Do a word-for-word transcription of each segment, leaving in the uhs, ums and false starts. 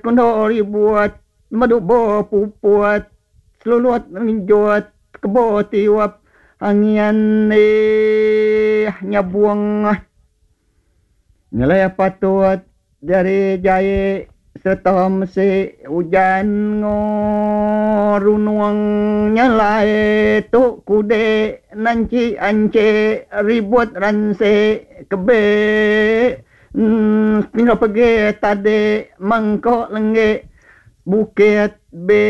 Kundo ribut medu bo puput selulut ngenjut kebo tiup angin eh nyabung nyelai patut jari jai sereta mesi ujan ngorunung nyelai tu kude nanci ance ribut ranse kebe pindah pergi tadi mangkok lengge bukit be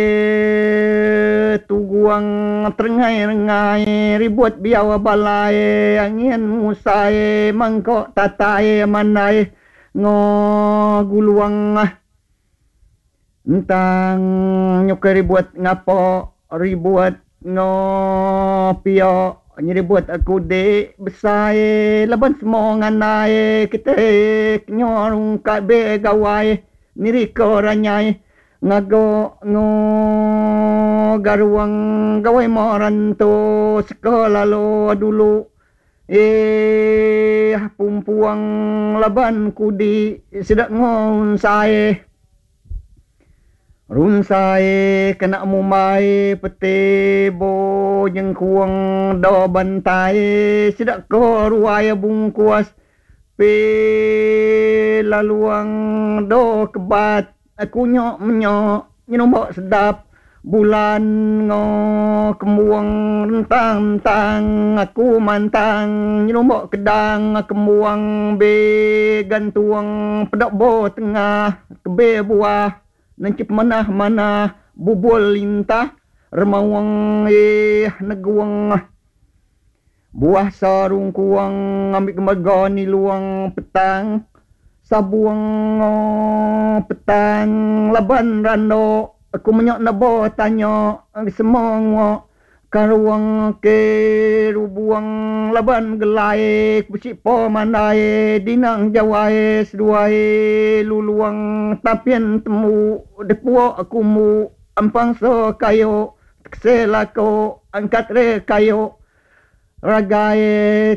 tuguang terengai-rengai ribut biau balai angin musai mangkok tatai mandai ngoguluang entang nyukai ribut ngapo ribut ngopio nyeribut aku dek besai laban semua ngandai kita kenyorung kabe gawai niriko ranyai ngago ngo garuang gawai moranto sekolah lo dulu eh pumpuang laban kudi sedak ngonsai runsai kena mumbai peti bo jengkuang do bantai sedak ko ruai bungkuas pe laluang do kebat aku nyok menyok nyenumbok sedap bulan ngo kembuang rentang-rentang aku mantang nyenumbok kedang kembuang be gantuang pedok bo tengah kebe buah nancip manah-manah bubul lintah remawang eh neguang buah sarung kuang ambil kemaga ni luang petang sabuang petang laban rando aku menyok nabo tanya semua karuang ke rubuang laban gelai besi po mandai dinang jawai seduai luluang tapian temu depuak aku mu ampang so kayo keselako angkat re kayo ragai.